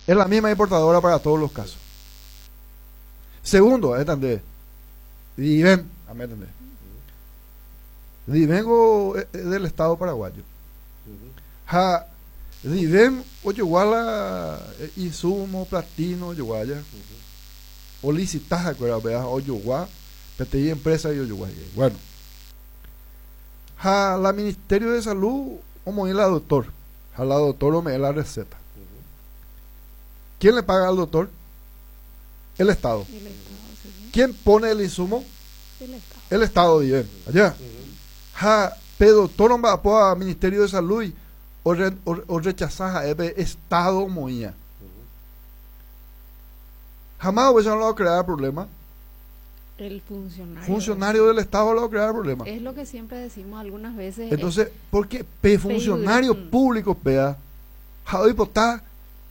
Es la misma importadora para todos los casos. Segundo, entendés. Divem, entendés. Divengo del Estado paraguayo. Ha Divem ojogua la insumo platino ojogua ya. O licitaja kuéra upéva ojogua peteĩ empresa y ojogua hikuái. Bueno. Ha la Ministerio de Salud omoĩ la doctor. Ha la doctor ome'ẽ la receta. ¿Quién le paga al doctor? El Estado. El Estado, sí. ¿Quién pone el insumo? El Estado. El Estado, Divem. Allá. Ha pe doctor omba'apóva Ministerio de Salud orrechasa ha'e pe Estado omoĩva. Ha máva upéicha no la ocrear problema? El funcionario. Funcionario del Estado la ocrear problema. Es lo que siempre decimos algunas veces. Entonces, porque pe funcionario público pea, ha oipota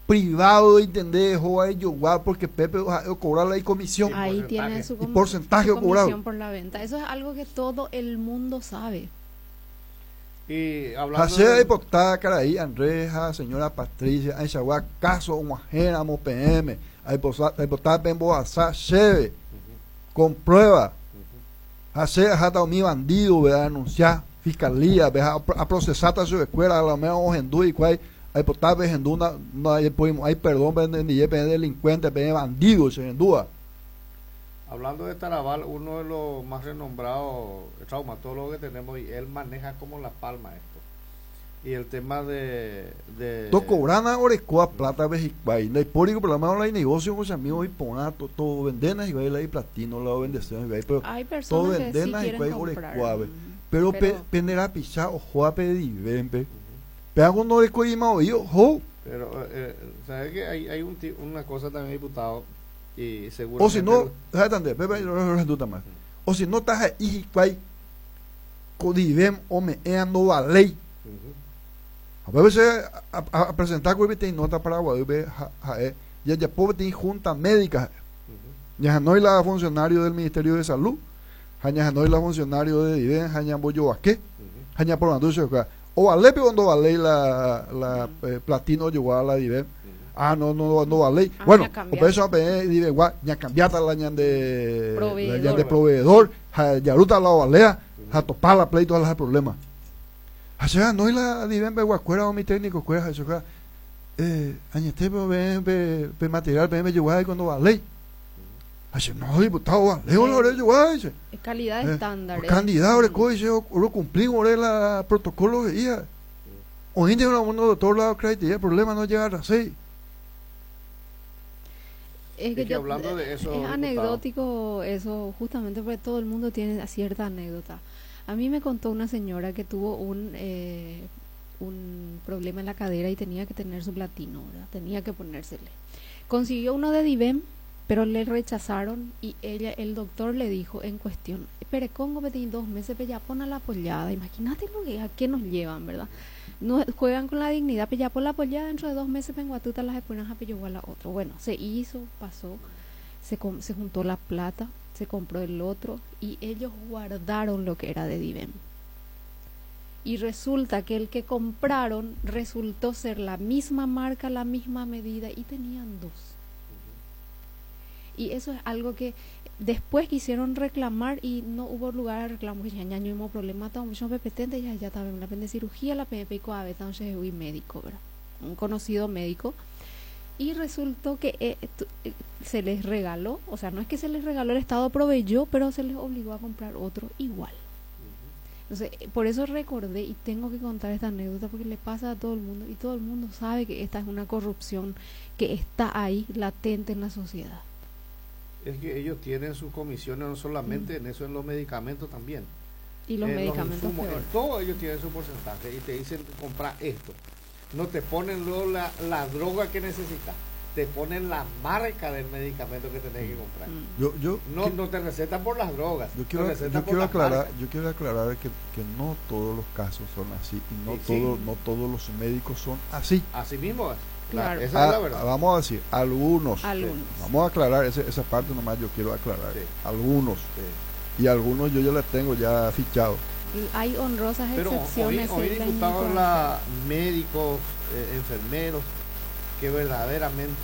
privado entendés o ejogua porque pepe o cobrar la comisión. Ahí Y tiene porcentaje. su Y porcentaje su cobrado. comisión por la venta. Eso es algo que todo el mundo sabe. Y hablando Ha che de- aipota karai Andrés ha señora Patricia ãichagua káso og̃uahẽramo peẽme aipota pembohasa chéve con prueba ha che aháta umi bandido-pe adenuncia fiscalía-pe ha aprocesáta chupekuéra a lo menos ohendu hikuái aipota pehendu ndajapoimo'ãi perdón penendive peẽ delincuente peẽ bandido chehendúva. Hablando de Tarabal, uno de los más renombrados traumatólogos que tenemos, y él maneja como la palma esto. Y el tema de Tokovrana orekóva plata pe hikuái, ndaipóri ko problema la inegocio ko che amigo iporã to vendéna hikuái la iplatino la ovendesérõ hikuái pero Hay to personas que sí vendéna quieren hikuái comprar. orekóvape. Pero pe Pero pende rapicha ohóva pe divénpe, péva ko ndorekoíma voi oho. Pero, ¿sabes que hay una cosa también, diputado? Y O si seguramente no, el déjate andar, pepe, yo lo resuelto más. O si no, estás ahí, hikuái, ko divem ome'ẽ ndovaléi. A veces a presentar con peteĩ nota paraguaýpe ha'e jajapo peteĩ junta médica. Ñahanói la funcionario del Ministerio de Salud, ha ñahanói la funcionario de Divem, ha ñambojovake, ha ñaporandu chupekuéra. Ovalépe o ndovaléi la platino ojogua la Divem. Ah, no, no, no valéi. Ah, Bueno, ña cambiá. upéicha peẽ Divegua ñacambiáta la ñande, la Proveedor. ñande proveedor, ha jarúta la ovalea, ha topá la pleito, la problema. Ha che anói la Divem peguakuéra umi técnico kuéra, ha chupekuéra, añete pe peẽ pe material peẽ pejogua cuando valéi. Ha che, no, diputado, vale, ore ore jogua, dice. Es calidad estándar, eh. Calidad, ore co, dice, ore cumplimos, ore la protocolo veía. Oínte una uno doctor la crédito, el problema no llega a las 6. Es que Es que yo, hablando de eso, es diputado. anecdótico eso, justamente porque todo el mundo tiene cierta anécdota. A mí me contó una señora que tuvo un problema en la cadera y tenía que tener su platino, ¿verdad? Tenía que ponérsele. Consiguió uno de Divem, pero le rechazaron y el doctor le dijo en cuestión, pero Congo me tiene 2 meses, pero ya pon a la pollada. Imagínate lo que, a qué nos llevan, ¿verdad? No juegan con la dignidad, pero ya pon la pollada dentro de 2 meses, vengo a tuta las espuelas, a pillo igual a otro. Bueno, se hizo, pasó, se juntó la plata, se compró el otro y ellos guardaron lo que era de Divem. Y resulta que el que compraron resultó ser la misma marca, la misma medida y tenían 2. Y eso es algo que después quisieron reclamar y no hubo lugar a reclamo. Ya, ya no hubo problema, estaba mucho P P T, ya, ya estaba en la de cirugía, la P P I, A B, entonces fui médico, ¿verdad? Un conocido médico. Y resultó que se les regaló, o sea, no es que se les regaló, el Estado proveyó, pero se les obligó a comprar otro igual. Entonces, por eso recordé y tengo que contar esta anécdota porque le pasa a todo el mundo y todo el mundo sabe que esta es una corrupción que está ahí latente en la sociedad. Es que ellos tienen sus comisiones no solamente en eso, en los medicamentos también. Y los En los medicamentos insumos, peor. En todo ellos tienen su porcentaje y te dicen compra esto. No te ponen luego la droga que necesitas, te ponen la marca del medicamento que tenés que comprar. No, no te recetan por las drogas, Yo te recetan por las marcas. quiero aclarar que no todos los casos son así y no todos los médicos son así. Así mismo es. Esa es la verdad. Vamos a decir, algunos. Algunos. Vamos a aclarar esa parte nomás, yo quiero aclarar. Algunos. Y algunos yo ya les tengo ya fichado. Hay honrosas Pero excepciones hoy en la diputados, inmigración. médicos, enfermeros, que verdaderamente